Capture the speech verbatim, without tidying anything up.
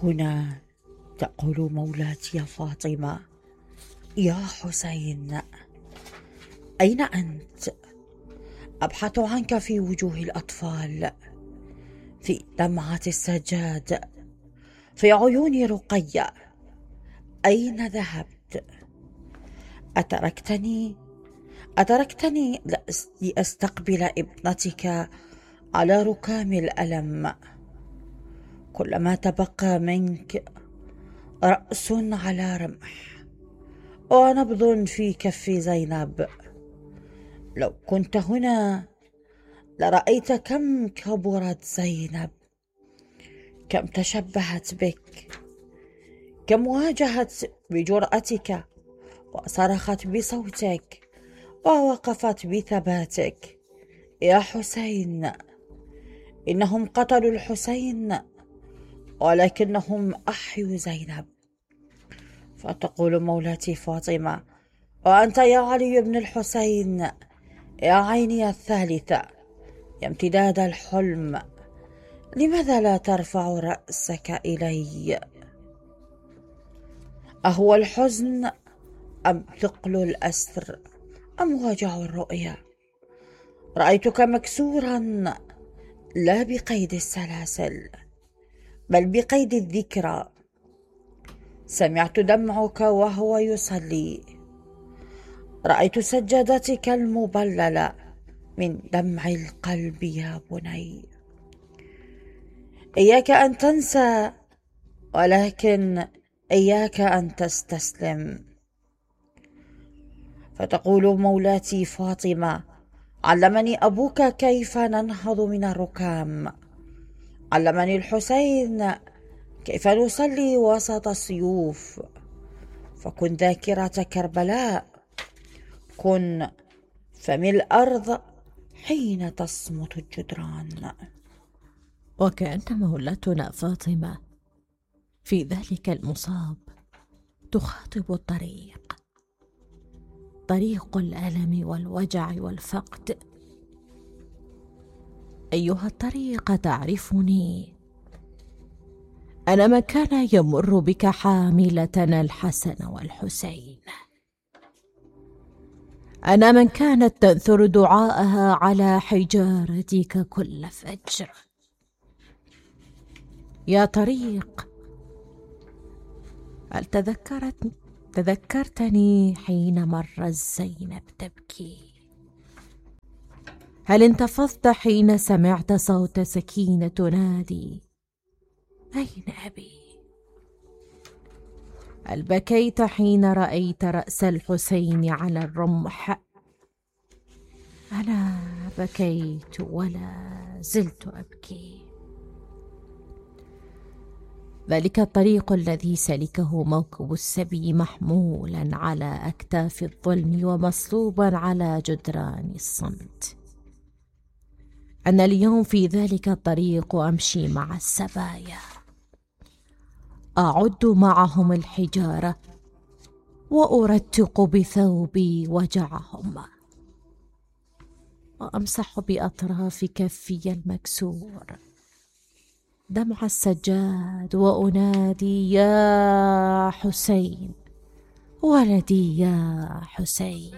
هنا تقول مولاتي فاطمة: يا حسين، أين أنت؟ أبحث عنك في وجوه الأطفال، في دمعة السجاد، في عيون رقية. أين ذهبت؟ أتركتني أتركتني لأستقبل ابنتك على ركام الألم. كل ما تبقى منك رأس على رمح ونبض في كف زينب. لو كنت هنا لرأيت كم كبرت زينب، كم تشبهت بك، كم واجهت بجرأتك وصرخت بصوتك ووقفت بثباتك. يا حسين، إنهم قتلوا الحسين ولكنهم أحيوا زينب. فتقول مولاتي فاطمة: وأنت يا علي بن الحسين، يا عيني الثالثة، يا امتداد الحلم، لماذا لا ترفع رأسك إلي؟ أهو الحزن أم ثقل الأسر أم وجع الرؤيا؟ رأيتك مكسورا، لا بقيد السلاسل بل بقيد الذكرى. سمعت دمعك وهو يصلي، رأيت سجادتك المبللة من دمع القلب يا بني. إياك أن تنسى، ولكن إياك أن تستسلم. فتقول مولاتي فاطمة: علمني أبوك كيف ننهض من الركام، علمني الحسين كيف نصلي وسط السيوف. فكن ذاكرة كربلاء، كن فم الأرض حين تصمت الجدران. وكأن مولاتنا فاطمة في ذلك المصاب تخاطب الطريق، طريق الألم والوجع والفقد. أيها الطريق، تعرفني، أنا من كان يمر بك حاملة الحسن والحسين، أنا من كانت تنثر دعاءها على حجارتك كل فجر. يا طريق، هل تذكرت تذكرتني حين مر زينب تبكي؟ هل انتفضت حين سمعت صوت سكينة تنادي: أين أبي؟ هل بكيت حين رأيت رأس الحسين على الرمح؟ أنا بكيت ولا زلت أبكي. ذلك الطريق الذي سلكه موكب السبي محمولا على أكتاف الظلم ومصلوبا على جدران الصمت. أنا اليوم في ذلك الطريق أمشي مع السبايا، أعد معهم الحجارة وأرتق بثوبي وجعهم، وأمسح بأطراف كفي المكسور دمع السجاد، وأنادي: يا حسين ولدي، يا حسين.